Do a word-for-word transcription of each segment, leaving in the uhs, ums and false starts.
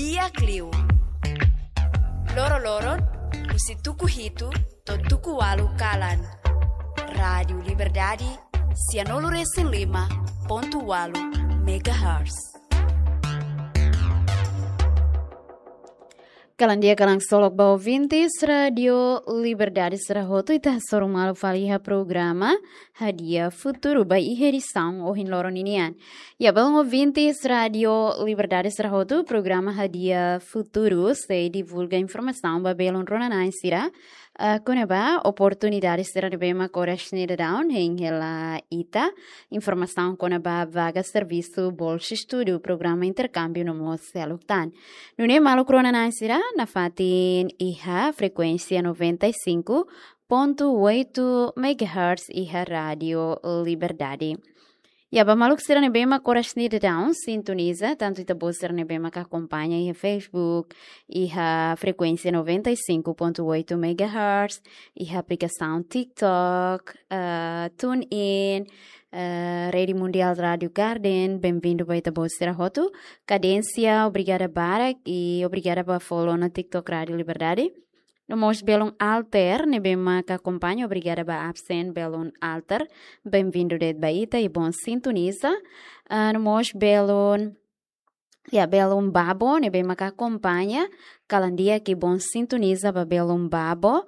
Di'ak liu. Loro-loron, husi tuku hitu to'o tuku ualu kalan. Rádiu Liberdade, sianulu-resin-lima pontu ualu megahertz. Kalan di'ak, kalan ksolok ba ouvintes Rádiu Liberdade sira hotu, ita hasoru malu fali iha programa Hadi'a Futuru ba iha edisaun ohin loron ninian. Ya, belun ouvintes Rádiu Liberdade sira hotu, programa Hadi'a Futuru sei divulga informasaun ba belun rona-na'in sira, eh, kona-ba oportunidade sira ne'ebé mak oras ne'e daudaun hein hela ita, informasaun kona-ba vaga servisu, bolsa estudu, programa interkámbiu no mós seluk tan. Nune'e maluk rona-na'in sira, nafatin iha frekuénsia noventa e cinco ponto oito megahertz iha Rádiu Liberdade. Ya, ba maluk sira ne'ebé mak oras ne'e daudaun sintoniza, tantu ita-boot sira ne'ebé mak akompaña iha Facebook, iha frekuénsia noventa e cinco ponto oito megahertz, iha aplikasaun TikTok, eh, TuneIn, eh, Rede Mundial Rádiu Garden, benvindu ba ita-boot sira hotu. Kadénsia, obrigada barak, i obrigada ba follow ona TikTok Rádiu Liberdade. No mós belun Alter, ne'ebé mak akompaña, obrigada ba absen belun Alter. Benvindu de'it ba ita i bon sintoniza. Ah, no mós belun, ya, belun Babo, ne'ebé mak akompaña, kalan di'ak i bon sintoniza ba belun Babo.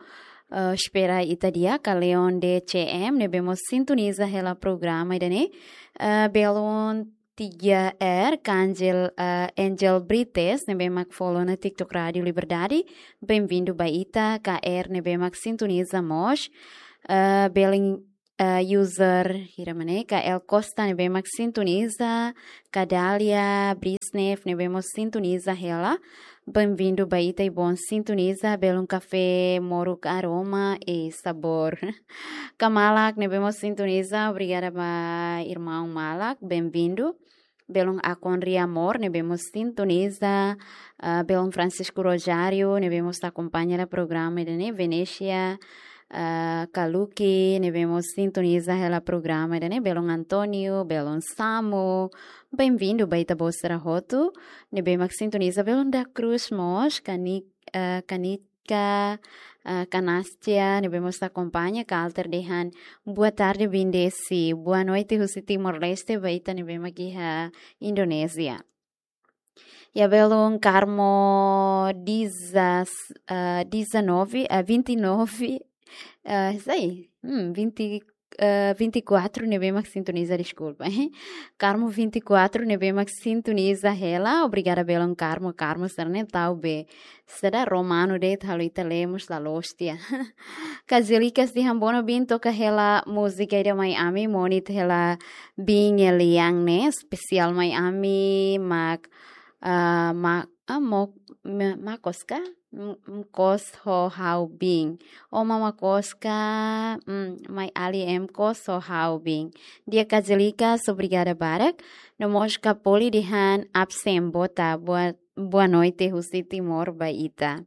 Ah, espera ita di'ak, Leon D C M, ne'ebé mós sintoniza hela programa ida-ne'e. Ah, belun tiga R, Angel, eh, Angel Brites, ne'ebé mak follow ona TikTok Rádiu Liberdade. Benvindu ba ita, K R, ne'ebé mak sintoniza mós. Eh, belun, eh, user, hira mana, K L Costa, ne'ebé mak sintoniza. Kadalia Brisnev, ne'ebé mós sintoniza hela. Benvindu ba ita i bon sintoniza, belun Kafé Moruk Aroma e Sabor. Kamalak, ne'ebé mós sintoniza, obrigada ba irmaun Malak, benvindu. Belun Akon Riamor, ne'ebé mós sintoniza, ah, belun Francisco Rojário, ne'ebé mós akompaña hela programa ida-ne'e, Venesia, ah, Kaluki, ne'ebé mós sintoniza hela programa ida-ne'e, belun António, belun Samu, benvindu ba ita-boot sira hotu, ne'ebé mak sintoniza, belun da Cruz mós, Kani-, ah, Kani-, Ka, ah, Kanastia, ne'ebé mós akompaña, Ka Alter dehan, boa tarde, Bindesi. Boa noite, husi Timor-Leste, ba ita ne'ebé mak iha Indonézia. Ya, belun Carmo dezas-, ah, dezanove, ah, vinte e nove, ah, sei, hmm, vinte, eh, vinte e quatro ne'ebé mak sintoniza, deskulpa. Carmo vinte e quatro ne'ebé mak sintoniza hela. Obrigada belun Carmo. Carmo sira-ne'e tau be, saida, romanu de'it, halo ita lee mós la loos tiha. Kazelikas dehan, bono bin toka hela múzika ida mai ami, monu ita hela bin nia lian ne'e, espesiál mai ami, mak, ah, ma-, ah, mo-, ma-, makos ka? M-, mkos ho ha'u bin. Ó mama kos ka, mm, mai ali em kos ho ha'u bin. Di'ak Kazelikas, obrigada barak. No mós Kapoli dehan absen, boa ta-, boa, boa noite, husi Timor ba ita.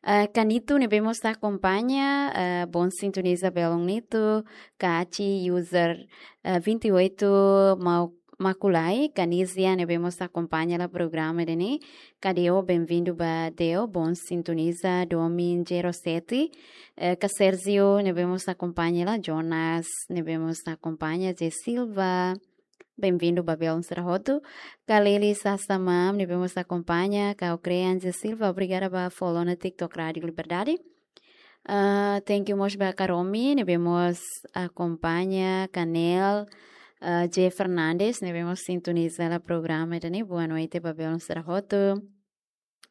Eh, Kanito ne'ebé mós akompaña, eh, bon sintoniza belun Nito, Kachi, user, eh, vinte e oito, mau Makulai, Kanizia, ne'ebé mós akompaña hela programa ida-ne'e. Ka Deo, benvindu ba Deo, bon sintoniza, Domin zero sete. Eh, Ka Sergio, ne'ebé mós akompaña hela, Jonas, ne'ebé mós akompaña, J Silva. Benvindu ba belun sira hotu. Ka Lili Sasamam, ne'ebé mós akompaña, Ka Okrean, J Silva, obrigada ba follow ona TikTok Rádiu Liberdade. Ah, thank you mós ba Karomi, ne'ebé mós akompaña, Kanel, ah, J Fernandes, ne'ebé mós sintoniza hela programa ida-ne'e, boa noite ba belun sira hotu.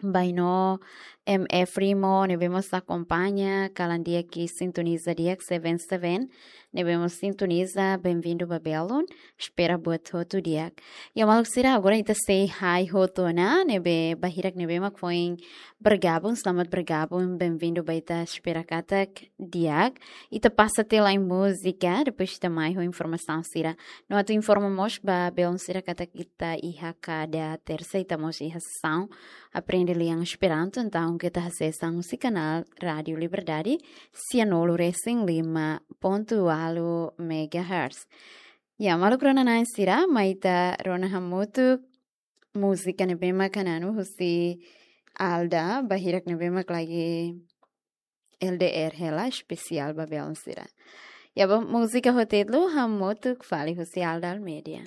Baino, M F Rimo, ne'ebé mós akompaña, kalan di'ak i sintoniza di'ak seven seven, ne'ebé mós sintoniza, benvindu ba belun, espera buat hotu di'ak. Ya maluk sira, agora ita sei hai hotu ona, ne'ebé ba hirak ne'ebé mak foin bergabung, selamat bergabung, benvindu ba ita, espera katak di'ak. Ita pasa tiha lai múzika, depois ita mai ho informasaun sira. No atu informa mós ba belun sira katak ita iha kada tersa ita mós iha sesaun aprende lian Esperanto, entaun keta hasees an husi kanál Rádiu Liberdade, sianulu-resin-lima pontu ualu megahertz. Ya, maluk rona-na'in sira, mai ita rona hamutuk múzika ne'ebé mak hananu husi Alda, ba hirak ne'ebé mak lagi L D R hela, espesiál ba belun sira. Ya, ba múzika hotu-hotu hamutuk fali husi Alda Almeida.